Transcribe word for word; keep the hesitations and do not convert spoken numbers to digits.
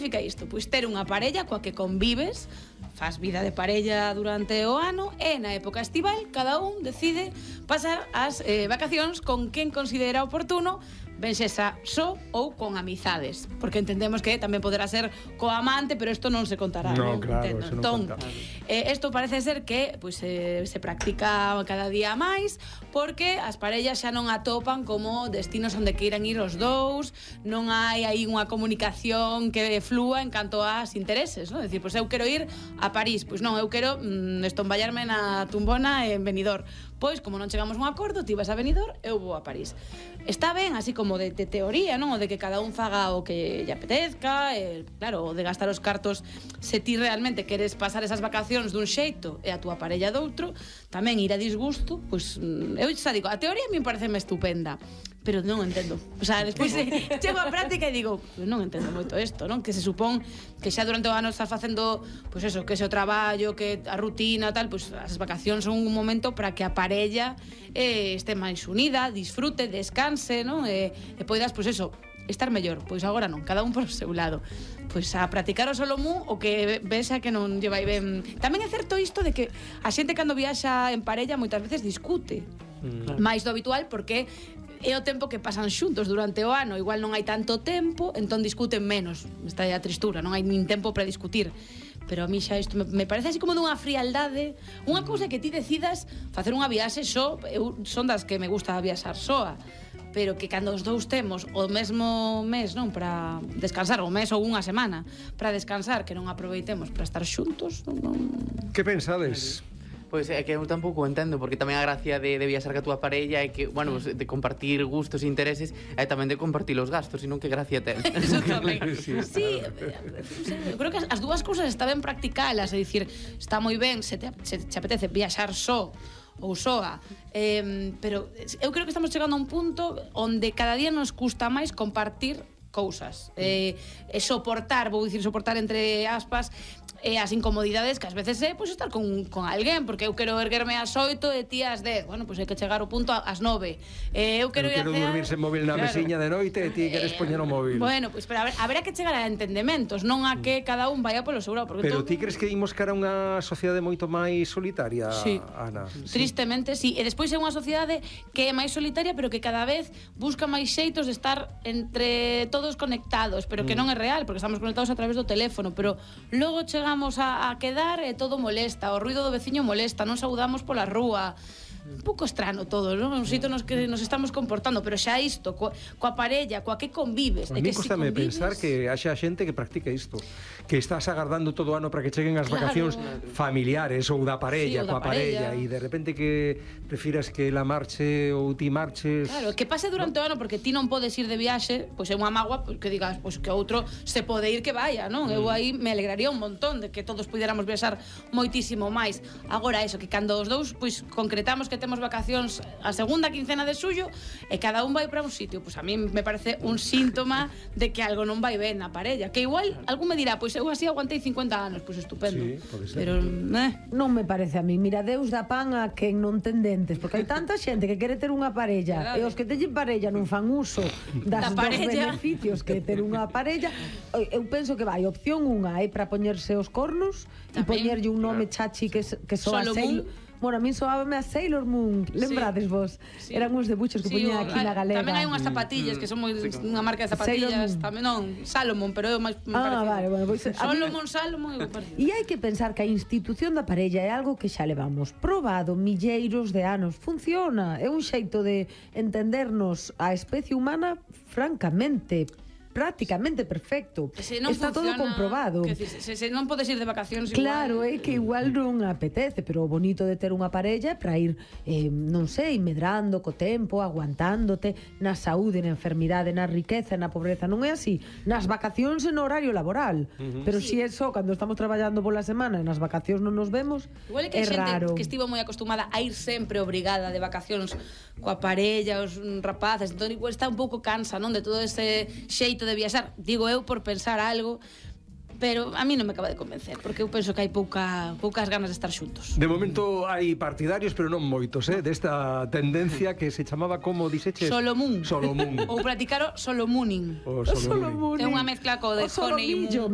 significa isto? Pois ter unha parella coa que convives, faz vida de parella durante o ano e na época estival cada un decide pasar as eh, vacacións con quen considera oportuno, ben sexa só ou con amizades, porque entendemos que tamén poderá ser co amante, pero isto non se contará, no, non? Claro, Entendo. eso non Entón, conta. eh, isto parece ser que pues, eh, se practica cada día máis, porque as parellas xa non atopan como destinos onde queiran ir os dous, non hai aí unha comunicación que flúa en canto ás intereses, non? Decir, pois eu quero ir a París, pois non, eu quero mm, estomballarme na tumbona en Benidorm. Pois, como non chegamos a un acordo, ti vas a Benidorm, eu vou a París. Está ben, así como de, de teoría, non? O de que cada un faga o que lle apetezca, eh, claro, o de gastar os cartos se ti realmente queres pasar esas vacacións dun xeito e a túa parella doutro, tamén ir a disgusto, pois, eu xa digo, a teoría a mí pareceme estupenda, pero non entendo. O sea, despois eh, chego á práctica e digo, non entendo moito isto, non? Que se supón que xa durante o ano estás facendo, pois eso, que ese o traballo, que a rutina, tal, pois as vacacións son un momento para que a parella eh, este máis unida, disfrute, descanse, non? E, e poidas, pois eso, estar mellor. Pois agora non, cada un por o seu lado. Pois a practicar o solomú o que vexa que non lle vai ben. Tamén é certo isto de que a xente cando viaxa en parella moitas veces discute mm. máis do habitual, porque é o tempo que pasan xuntos durante o ano, igual non hai tanto tempo, entón discuten menos. Está a tristura, non hai nin tempo para discutir. Pero a mí xa isto me, me parece así como dunha frialdade, unha cousa que ti decidas facer unha viaxe só, eu son das que me gusta viaxar soa, pero que cando os dous temos o mesmo mes, non, para descansar, o mes ou unha semana para descansar, que non aproveitemos para estar xuntos, non, non... Que pensades? Pois é que eu tampouco entendo, porque tamén a gracia de, de viaxar ca túa parella é que, bueno, pues, de compartir gustos e intereses e tamén de compartir os gastos, senón que gracia ten. Eso tamén. Sí, Sí, eu creo que as, as dúas cousas está ben practicalas, é dicir, está moi ben se te, se te apetece viaxar só ou soa, eh, pero eu creo que estamos chegando a un punto onde cada día nos custa máis compartir cousas, eh, e soportar, vou dicir soportar entre aspas, e as incomodidades que ás veces é pois, estar con, con alguén, porque eu quero erguerme ás oito e ti ás dez, bueno, pois hai que chegar ao punto ás nove, eh, eu quero eu ir quero a cear, dormir sen móvil na claro, mesiña de noite e ti queres poñer o móvil. Bueno, pois pero a ver, haberá que chegar a entendementos, non a que cada un vaya polo seu lado, porque Pero todo... ti crees que imos cara a unha sociedade moito máis solitaria, Sí. Ana? Tristemente, sí. E despois é unha sociedade que é máis solitaria, pero que cada vez busca máis xeitos de estar entre todos conectados, pero que non é real, porque estamos conectados a través do teléfono, pero logo chegamos a, a quedar e todo molesta, o ruido do veciño molesta, non saudamos pola rúa. Un pouco estrano todo, non? Un sitio nos que nos estamos comportando, pero xa isto, coa, coa parella, coa que convives, A de mí que si costame convives... pensar que haxa xente que practica isto, que estás agardando todo o ano para que cheguen as Claro. vacacións familiares ou da parella, Sí, ou da coa parella, parella. e de repente que prefiras que la marche ou ti marches. Claro, que pase durante o ano, porque ti non podes ir de viaxe, pois é unha mágoa que digas, pois que outro se pode ir que vaya, non? Eu aí me alegraría un montón de que todos puidéramos viaxar moitísimo máis. Agora eso, que cando os dous pois concretamos que temos vacacións a segunda quincena de xullo e cada un vai para un sitio, pois a mí me parece un síntoma de que algo non vai ben na parella, que igual algún me dirá, pois eu así aguantei cincuenta anos, pois estupendo. Sí, pode ser. Pero, eh, Non me parece a mí. Mira, Deus dá pan a quen non ten dentes, porque hai tanta xente que quere ter unha parella Verdade. e os que teñen parella non fan uso das Da dos parella. beneficios que ter unha parella. Eu penso que vai, opción unha é para poñerse os cornos e Tamén. poñerlle un nome chachi que, que soa Solomon. Sailor. Bueno, a min soábame a Sailor Moon. Lembrades vos? Sí. Eran uns debuchos que sí, poñía o- aquí na galega. Tamén hai unhas zapatillas que son moi unha marca de Sailor zapatillas, Moon. tamén non, Salomon, pero é o máis me Ah, parecido. vale, bueno, pois a mí- Solomon, Salomon é o parecido. E hai que pensar que a institución da parella é algo que xa levamos probado milleiros de anos. Funciona, é un xeito de entendernos a especie humana francamente, prácticamente perfecto. Se non Está todo funciona, comprobado. que se, se, se non podes ir de vacacións Claro, igual. é que igual non apetece, pero o bonito de ter unha parella é para ir, eh, non sei, medrando co tempo, aguantándote na saúde, na enfermidade, na riqueza, na pobreza. Non é así. Nas vacacións e no horario laboral. Uh-huh. Pero si é só cando estamos traballando pola semana e nas vacacións non nos vemos, Igual é que é hai xente raro. que estivo moi acostumada a ir sempre obrigada de vacacións coa parella, os mm, rapaces, entón igual está un pouco cansa, non, de todo ese xeito de viaxar, digo eu por pensar algo, pero a mí non me acaba de convencer, porque eu penso que hai pouca, poucas ganas de estar xuntos. De momento hai partidarios, pero non moitos, eh, desta tendencia que se chamaba, como dixeches? Solomún. Solomún. Ou practicar o solomooning. O O Solomún. solomún. É unha mezcla co de O honeymoon. solomillo.